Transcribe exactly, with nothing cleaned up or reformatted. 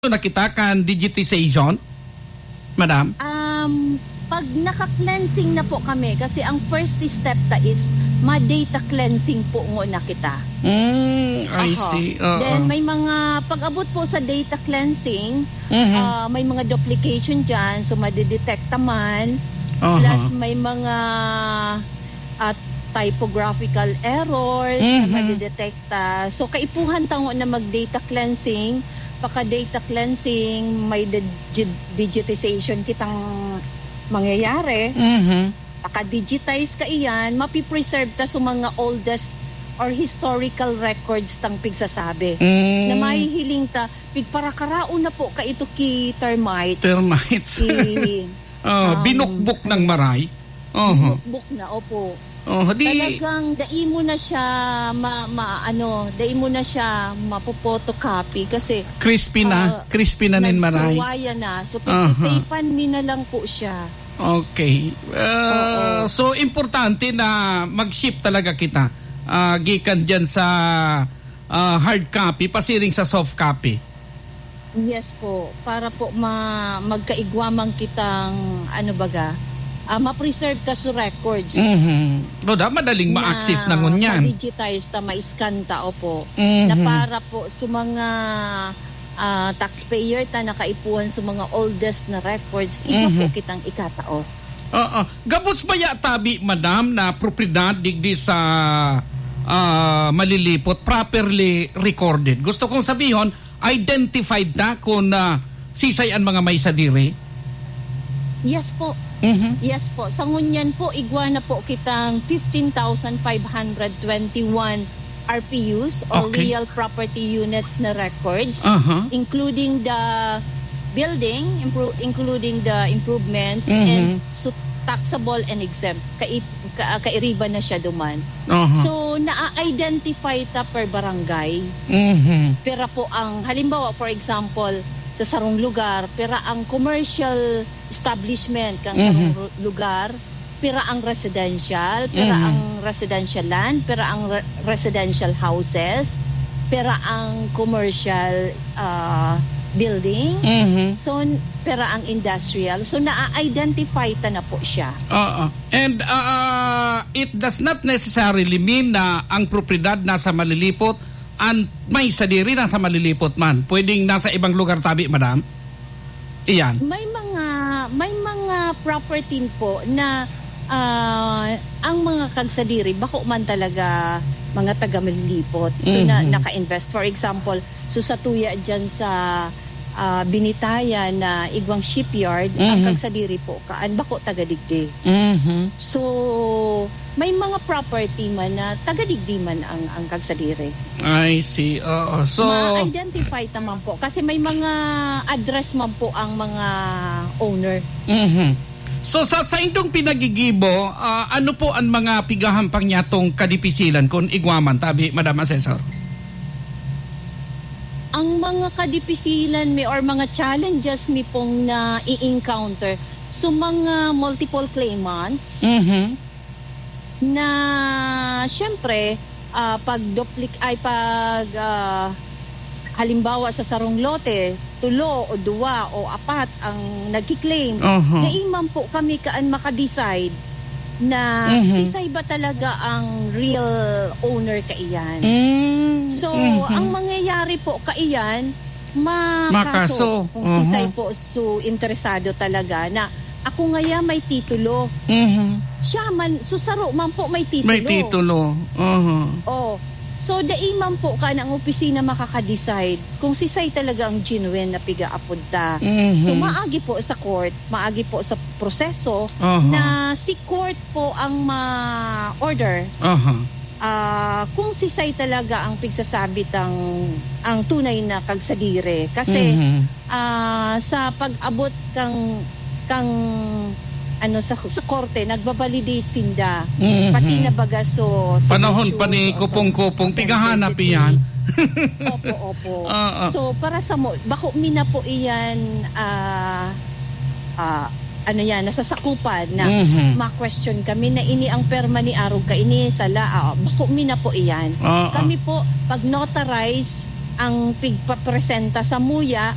na kita kan digitization, madam? Um, pag naka-cleansing na po kami, kasi ang first step ta is ma-data cleansing po ngona kita. Mm, I Aha. see. Oo. Then may mga, pag-abot po sa data cleansing, Mhm. ah, may mga duplication dyan, so madidetekta man. Aha. Plus may mga, ah, typographical errors na Mhm. madidetekta. So kaipuhan ta ngona mag-data cleansing, paka-data cleansing, may digi-, digitization kitang mangyayari. Mhm. Paka-digitize kaiyan, mapipreserve ta sa mga oldest or historical records tang pigsasabi. Mm. Na mahihiling ta, pigparakaraon na po kaito ki termites. Termites. Ki, Oh, um, binukbok ng maray. Oho. Binukbok na, opo. Oh, di Talagang dai mo na siya ma-, ma-, ano, dai mo na siya mapo-photocopy kasi, Crispy na, ah, crispy na nin maray. nagsuwaya na. So, Aha. pagtitaypan mi na lang po siya. Okay. Ah, Oo. so, importante na mag-shift talaga kita, ah, gikan dyan sa, ah, hard copy, pasiring sa soft copy. Yes po, para po ma-, magkaigwa man kitang, ano baga, ah, ma-preserve ta sa records. Mhm. No, da, madaling Na ma-access na ngunyan. ma-digitize ta, ma-scan ta, opo. Mhm. Na para po sa mga, ah, taxpayer ta na kaipuhan sa mga oldest na records, iba po Mhm. kitang ikatao. Oo. Gabos baya tabi, madam, na propiedad digdi sa, ah, Malilipot, properly recorded? Gusto kong sabihon, identified ta kun, ah, sisay an mga may sadiri? Yes po. Mhm. Yes po. Sa ngunyan po, igwa na po kitang fifteen thousand five hundred twenty-one R P Us or Okay. real property units na records, Aha. including the building, impro-, including the improvements, Mhm. and su-, taxable and exempt. Kai-, ka-, kairiba na siya duman. Aha. So, naa-identify ta per barangay. Mhm. Pira po ang, halimbawa, for example, sa sarong lugar, pira ang commercial establishment kan Mhm. sarong ru-, lugar, pira ang residential, pira Mhm. ang residential land, pira ang re-, residential houses, pira ang commercial, ah, building. Mhm. So, n-, pira ang industrial. So, naa-identify ta na po siya. Oo. And, ah, it does not necessarily mean na ang propiedad nasa Malilipot, an may sadiri nasa Malilipot man. Pwedeng nasa ibang lugar tabi, madam? Iyan. May mga, may mga property po na, ah, ang mga kagsadiri, bako man talaga mga taga Malilipot. So, na, Mhm. naka-invest. For example, so sa tuya dyan sa, ah, Binitayan na igwang shipyard, ang Mhm. kagsadiri po, kaan, bako taga digdi. Mhm. So, may mga property man na taga digdi man ang, ang kagsadiri. I see. Oo. So, Ma-identify ta man po. Kasi may mga address man po ang mga owner. Mhm. So, sa, sa indong pinagigibo, ah, ano po ang mga pigahampang niyatong kadipisilan kun igwa man tabi, Madam Assessor? Ang mga kadipisilan mi or mga challenges mi pong na-i-encounter, so mga multiple claimants, Mhm. na, siyempre, ah, pag duplik-, ay, pag, ah, halimbawa, sa sarong lote, tulo o duwa o apat ang nagki-claim, Oho. dai man po kami kaan maka-decide na Mhm. sisay ba talaga ang real owner kaiyan. Mm, So, mhm. ang mangyayari po kaiyan, makaso Makaso. kung Oho. sisay po so interesado talaga na ako ngaya may titulo. Mhm. Siya man, so saro man po may titulo. May titulo. Oho. Oh. So, dai man po kan ang opisina makaka-decide kung sisay talaga ang genuine na piga-apod ta. Mhm. So, maagi po sa court, maagi po sa proseso Oho. na si court po ang ma-order. Oho. Ah, kung sisay talaga ang pigsasabi tang, ang tunay na kagsadiri. Kasi, Mhm. ah, sa pag-abot kang, kang, ano, sa, sa korte, nagbabalidate sinda. Mhm. Pati na baga so Panahon pa ni signature, Kupong-Kupong, authenticity. pigahanap iyan. Opo, opo. Oo. So, para sa mo, bako mi na po iyan, ah, ah, ano yan, nasasakupan na Mhm. ma-question kami na ini ang perma ni arog kaini, sala, ah, bako mi na po iyan. Oo. Kami po, pag notarize ang pigpapresenta sa muya,